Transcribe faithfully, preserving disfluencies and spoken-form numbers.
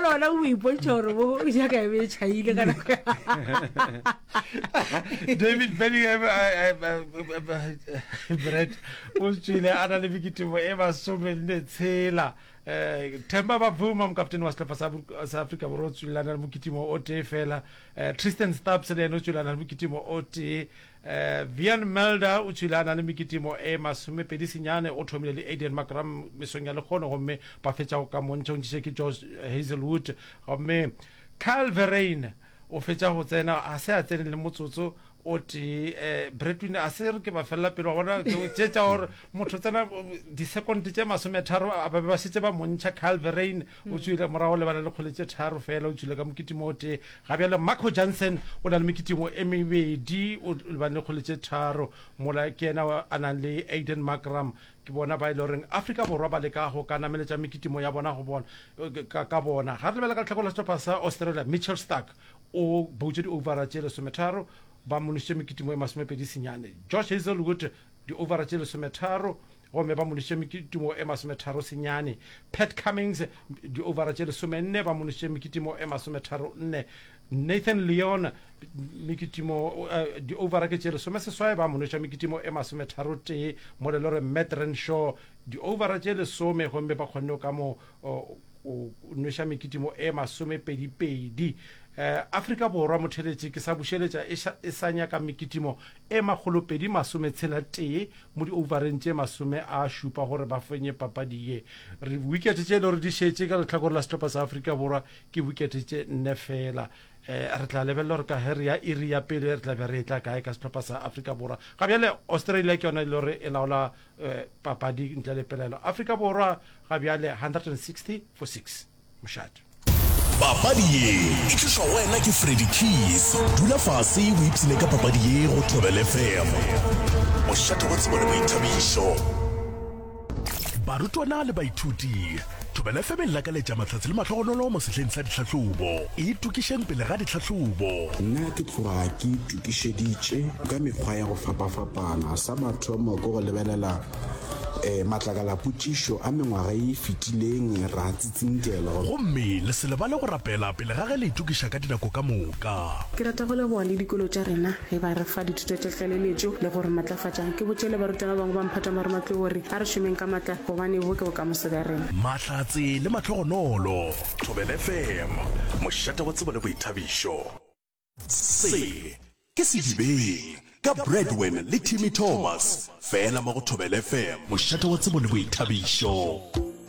Jale ona o ipontšha gore bo jaaka e be e tšhaile ka nako. David Bellingham, Brett, o tswile a na le mekitimo e masomenne tshela. um Themba Bavuma, mokaptene wa sehlopha sa Afrika Borwa, o tswile a na le mokitimo o tee fela. um Tristan Stubbs le yena o tswile a na le mokitimo o tee. um Wiaan Mulder o tswile a na le mekitimo e masomepedi senyane. O thomile le Aiden Markram mesong ya lekgono, gomme ba fetša go ka montšha, o ntšhiše ke Josh Hazelwood. Gomme Kyle Verreynne o fetša go tsena, a se a tsene le motsotso o tee. um Bretwin a se re ke ba felela pele wa bona tše tša gore motho tsena di-second tše masometharo a ba be ba šetše ba montšha. Kyle Verreynne o tswile morago lebana le kgole tše tharo fela, o tswile ka mokitimo o tee. Ga bjale Marco Jansen o na le mekitimo e mebedi, o lebane le kgole tše tharo, mola ke yena a nang le Aiden Markram. Ke bona ba e le goreng Afrika Borwa ba leka go ka nameletša mekitimo ya bona go bona ka, ka bona. Ga re lebela ka lehlakore la sehlopha sa Australia, Mitchell Starc o boutše di-overa tše lesometharo, ba mo nošitše mekitimo e masomepedi senyane. Josh Hazelwood di-overa tše lesometharo, gomme ba mo nošitše mekitimo e masometharo senyane. Pat Cummings di-overa tše lesomenne, ba mo nošitše mekitimo e masometharo nne. Nathan Lyon mekitimo uh, di-overa ke tše lesome seswai, ba mo noša mekitimo e masometharo tee. Mo le gore Matt Renshaw di-overa tše lesome, gomme ba kgonne ka mo o nweša mekitimo e masomepedi-pedi. um Afrika Borwa, motheletše, ke sa bušeletša, e sa nyaka mekitimo e makgolopedi masometshela tee mo di-overeng tše masome a šupa gore ba fenye papadi ye. Re wicket tše e le gore di šetše ka lehlakore la sehlopha sa Afrika Borwa ke wicket tše nne fela. um re tla lebelela gore ka ge re ya iri ya pele re tla be re e tla kae ka sehlopha sa Afrika Borwa. Ga bjale Australia ke yona e le gore e laola um papadi ntle le pelaelo. Afrika Borwa ga bjale hundred and sixty for six. Mošate. Papadi ye e tlišwa go wena ke Freddy Keys. Dula fase o ipshine ka papadi ye go Thobela F M. Mošate wa tsebo le boithabišo. Barutwana le baithuti, Thobela F M e lakaletša mahlatse le mahlogonolo mo sehleng sa ditlhahlobo. Itokišeng pele ga ditlhahlobo. Nna ke tloga ke itokišeditše ka mekgwa ya go fapafapana. Sa mathomo ke go lebelela um matlakalapotšišo a mengwaga e fetileng, ra tsitsinkela. Gomme le se lebale go rapela pele ga ge le itokiša ka dinako ka moka. Ke rata go leboga le dikolo tša rena ge ba re fa dithuto tša tlaleletšo le go re matlafatša. Ke botše le barutwana ba bangwe ba mphato wa marematlou gore a re šomeng ka matla gobane bo ke bokamoso bja rena. Mahlatse le mahlogonolo. Thobela F M, mošate wa tsebo le boithabišo. Se ke Sedibeng ka Bradwin le Timmy Thomas, fela mo go Thobela F M, mošate wa tsebo le boithabišo.